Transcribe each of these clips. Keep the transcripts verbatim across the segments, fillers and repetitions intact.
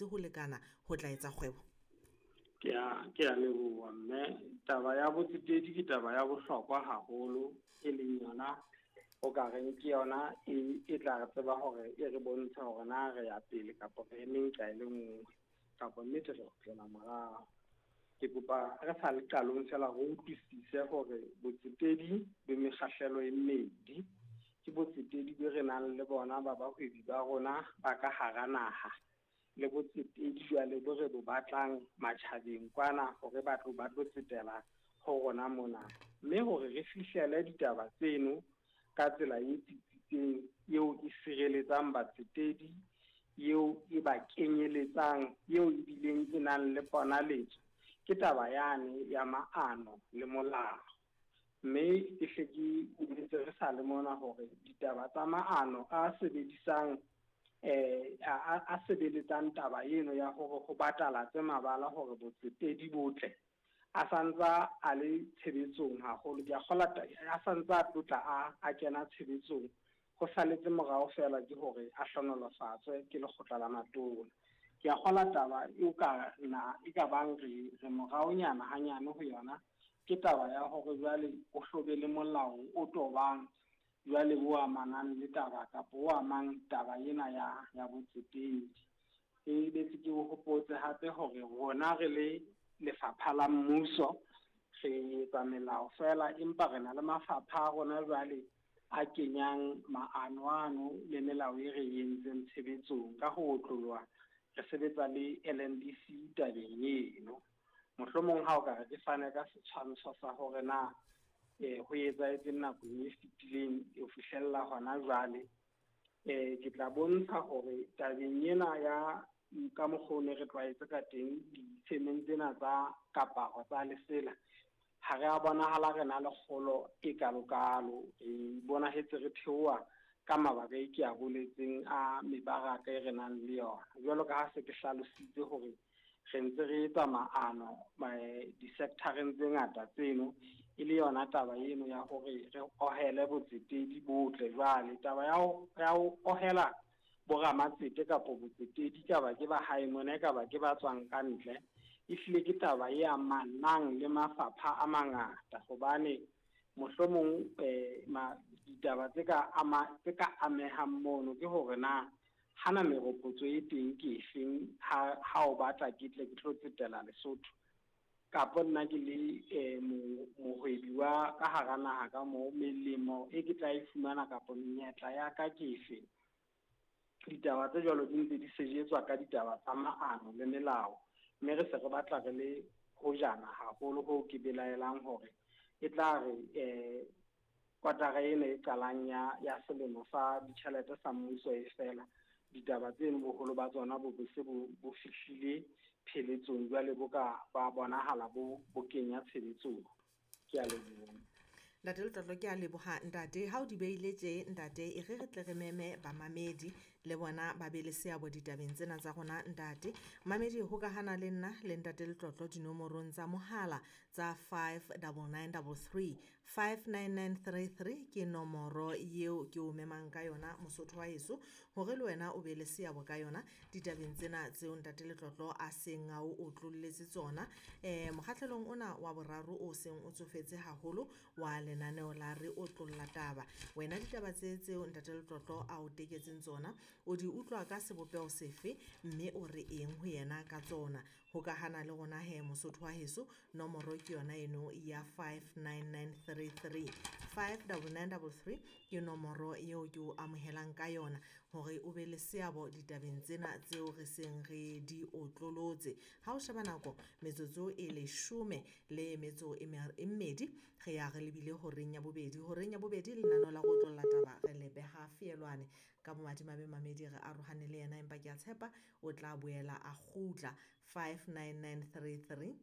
Ho lekana ho tla etsa kgwebo? Ke a ke a leboha mme. Taba ya botsetedi ke taba ya bohlokwa haholo, e leng yona o ka reng ke yona e e tla re tseba hore e re bontshe hore na re ya pele kapa re eme nqa e le nngwe kapa nnete re kgutlela morao. Ke kopa re sa le qalong fela re utlwisise hore botsetedi bo mekgahlelo e mmedi. Ke botsetedi be re nang le bona ba bahwebi ba rona ba ka hara naha, le botsetedi jwale bo re bo batlang matjhabeng kwana hore ba tlo ba tlo tsetela ho rona mona. Mme hore re fihlele ditaba tseno ka tsela e tsitsitseng, eo e sireletsang batsetedi, eo e ba kenyeletsang, eo ebileng e nang le ponaletso, ke taba yane ya maano le molao. Mme ke hle ke boletse re sa le mona hore ditaba tsa maano a sebedisang eh a a sebeletsang taba eno ya hore ho batalatse mabala hore botsetedi botle a santsa a le tshebetsong haholo. Ke a kgolwa a santsa a tlotla a a kena tshebetsong, ho saletse morao fela ke hore a hlonolofatswe ke lekgotla la matona. Ke a kgolwa taba eo ka na e ka bang re re moraonyana hanyane ho yona, ke taba ya hore jwale o hlobe le molao o tobang jwale o amanang le taba kapa o amang taba ena ya ya botsetedi. E betse ke o hopotse hape hore rona re le lefapha la mmuso re etsa melao fela, empa re na le mafapha a rona jwale a kenyang maano ano le melao e re entseng tshebetsong. Ka ho otloloha re sebetsa le L N D C tabeng eno. Mohlomong ha o ka re ke fane ka setshwantsho sa hore na eh ho etsahetseng nakong e fetileng ho fihlella hona jwale, eh ke tla bontsha hore tabeng ena ya ka mokgwa o ne re tlwaetse ka teng ditshemeng tsena tsa kaparo tsa lesela, ha re a bonahala re na le kgolo e kalokalo. Re bonahetse re theoha ka mabaka e ke a boletseng a mebaraka e re nang le yona. Jwalo ka ha se ke hlalositse hore re ntse re etsa maano di-sector-eng tse ngata tseno, e le yona taba eno ya hore re ohele botsetedi botle. Jwale taba ya ho, ya ho ohela boramatsete kapa botsetedi, kapa ke ba hae mona, kapa ke ba tswang ka ntle, ehlile ke taba e amanang le mafapha a mangata, hobane mohlomong eh ma ditaba tse ka ama, tse ka amehang mono ke hore na hana meropotso e teng ke efeng ha, ha o batla ke tle ke tlo tsetela Lesotho, kapa nna ke le eh, mohwebi wa ka hara naha ka moo, melemo e ke tla e fumana kapa menyetla ya ka ke efe. Ditaba tse jwalo di ntse di sejetswa ka ditaba tsa maano le melao, mme re se re batla re le hojana haholo hoo ke belaelang hore e tla re eh kwatara ena e qalang ya, ya selemo sa ditjhelete sa mmuso e fela, ditaba tseno boholo ba tsona bo be se bo, bo fihlile pheletsong, jwale bo ka ba bonahala bo, bo kenya tshebetsong. Ke a leboha. Ntate Letlotlo, ke a leboha ntate. Ha o di beile tje ntate, e re re tle re meme bamamedi le bona ba be le seabo ditabeng tsena tsa rona ntate. Mamedi, hokahana le nna le ntate Letlotlo dinomorong tsa mohala tsa five double nine double three, five nine nine three three ke nomoro eo ke o memang ka yona Mosotho wa heso, hore le wena o be le seabo ka yona ditabeng tsena tseo ntate Letlotlo a seng a o otlolletse tsona. Eh, mokgahlelong ona wa boraro o seng o tsofetse haholo wa lenaneo la re otlolla taba, wena ditaba tse tseo ntate Letlotlo a o teketseng tsona o di utlwa ka sebopeho sefe, mme o re eng ho yena ka tsona? Hokahana le rona he Mosotho wa heso, nomoro ke yona eno ya five nine nine three three, five double nine double three ke nomoro eo ke o amohelang ka yona hore o be le seabo ditabeng tsena tseo re seng re di otlolotse. Ha o sheba nako, metsotso e leshome le metso e mmedi, re ya re lebile horeng ya bobedi. Horeng ya bobedi lenaneo la go otlolla taba re le beha feelwane. Ka bomadimabe mamedi re arohane le yena, empa ke a tshepa o tla boela a kgutla. Five nine nine three three,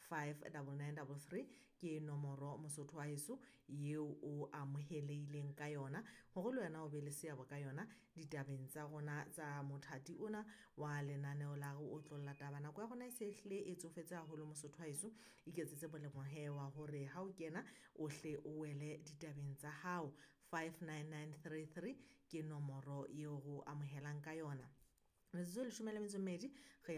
five double nine double three ke nomoro Mosotho wa heso eo o amohelehileng ka yona hore le wena o be le seabo ka yona ditabeng tsa rona tsa mothati ona wa lenaneo la re otlolla taba. Nako ya rona e se hlile e tsofetse haholo Mosotho wa heso, iketsetse molemo he wa hore ha o kena o hle o wele ditabeng tsa hao. Five nine nine three three ke nomoro eo re o amohelang ka yona. Metsotso e leshome le metso e mmedi re.